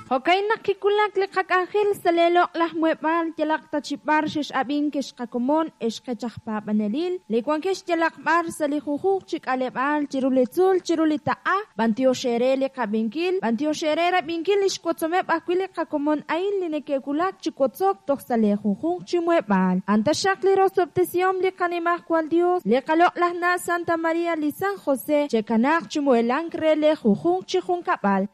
Jo'ka'in naq kiwulak li qak'anjel sa' lee loq'laj muheb'aal yalaq ta chi b'ar xex'ab'ink ex qakomon, ex qech aj paab'anelil, li wankex yalaq b'ar sa' li junjunq chi k'aleb'aal chiru li tzuul chiru li taq'a, b'antiox eere li qab'inkil, b'antiox eere rab'inkil lix wotzomeb' ajwi' li qakomon a'in li neke'wulak chi wotzok toj sa' lee junjunq chi muheb'aal. A'an taxaq li rosob'tesihom li qaNimajwal Dios, li qaloq'laj Na' Santa Maria li San José, che'kanaaq chi muhelank re lee junjunq chi junkab'al.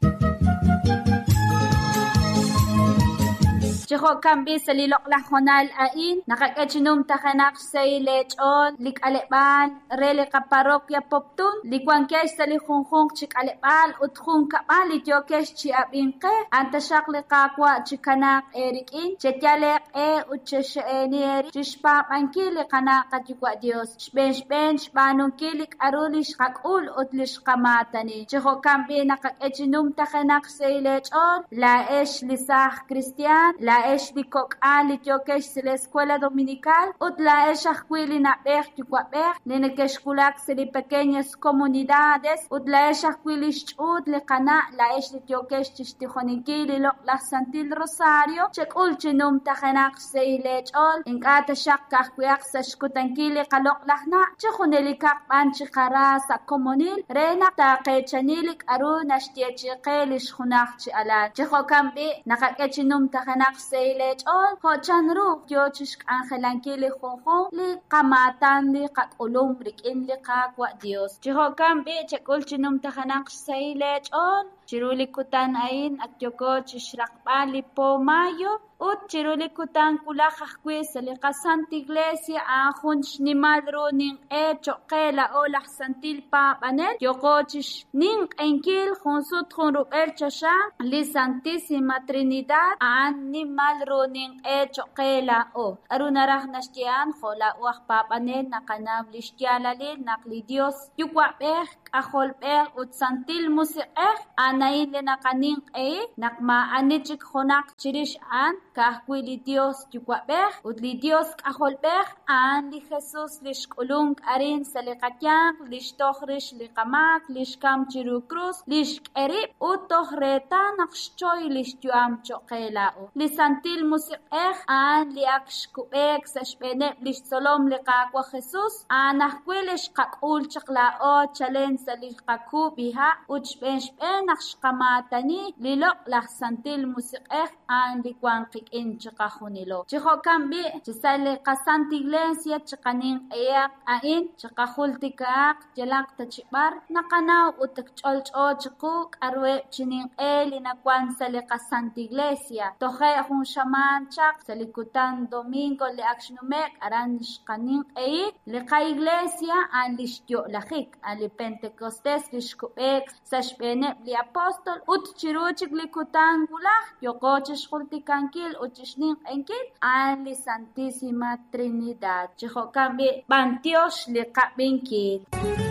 Chi jo'kan b'i' sa' li loq'laj hoonal a'in, naqak'e chi numtajenaq xsahil leech'ool li k'aleb'aal re li qaparroquia Poptún, li wankex sa' li junjunq chi k'aleb'aal ut junkab'al li yookex chi ab'ink qe, a'an taxaq li Qaawa' chikanaaq eerik'in, cheyal eeq'e ut chexe'eeni eerib' chi xpaab'ankil li qana' qaYuwa' Dios, xb'een xb'een xb'aanunkil li k'a'ru li xqak'ul ut li xqamaatani. Chi jo'kan b'i' naqak'e chi numtajenaq xsahil eech'ool, laa'ex li saaj kristiaan, laa'ex li kok'al li yookex sa' li Escuela Dominical, ut laa'ex ajwi' li na'b'ej yuwa'b'ej li nekexwulak sa' li pequeñas comunidades, ut laa'ex ajwi' lix ch'uut li qana', laa'ex li yookex chixtijoninkil li loq'laj Santil Rosario, chek'ul chi numtajenaq xsahil leech'ool, ink'a' taxaq ka'ajwi'aq sa' xkutankil li qaloq'laj na', chi junelikaq b'an chiqara sa' komonil re naq taaqeechani li k'a'ru naxyeechi'i qe lix junaj chi alal. Chi jo'kan b'i', naqak'e chi numtajenaq xsahil leech'ool jo' chanru yoo chixk'anjelankil li junjunq li qamaatan li qak'ulum rik'in li Qaawa' Dios. Chi jo'kan b'i', chek'ul chi numtajenaq xsahil leech'ool chiru li kutan a'in ak yooko chixraqb'al li po mayo, Ut chiru li kutan wulaj ajwi' sa' li qaSanta Iglesia a'an jun xnimal ru ninq'e choq' qe laa'o laj santil paab'anel, yooqo chixninq'ehinkil jun sut jun rub'el choxa li Santisima Trinidad, a'an nimal ru ninq'e choq' qe laa'o. K'a'ru naraj naxye a'an? Jo' laa'o aj paab'anel naqanaw lix yaalalil naq li Dios Yuwa'b'ej, K'ajolb'ej ut Santil Musiq'ej, a'an a'in li naqaninq'ehi, naq maa'ani chik junaq chirix a'an, ka'ajwi' li Dios Yuwa'b'ej ut li Dios K'ajolb'ej, a'an li Jesus li xk'ulunk arin sa' li qayanq, li xtoj rix li qamaak, li xkam chiru krus, li xk'e rib' ut toj reetal naq xchoy lix yu'am choq' qe laa'o. Li Santil Musiq'ej a'an li ak xkub'eek sa' xb'eeneb' lix tzolom li Qaawa' Jesus, a'an ajwi' li xqak'ul chaq laa'o chalen sa' li qakub'iha' ut xb'een xb'een naq xqamaatani li loq'laj Santil Musiq'ej a'an li wan qik'in chiqajunilo. Chi jo'kan b'i', chi sa' li qaSanta Iglesia chiqaninq'ehaq a'in, chiqajultikahaq yalaq ta chi b'ar naqanaw ut ak ch'olch'o chiqu k'a'ruheb' chi ninq'e li nawan sa' li qaSanta Iglesia. Toje' jun xamaan chaq, sa' li kutan domingo li ak xnume'k, aran xqaninq'ehi li qaIglesia a'an lix yo'lajik, a'an li Pentecostes li xkub'eek sa' xb'eeneb' li apostol, ut chiru chik li kutan wulaj yooqo chixjultikankil ut chixninq'ehinkil a'an li Santisima Trinidad. Chi jo'kan b'i', b'antiox li qab'inkil.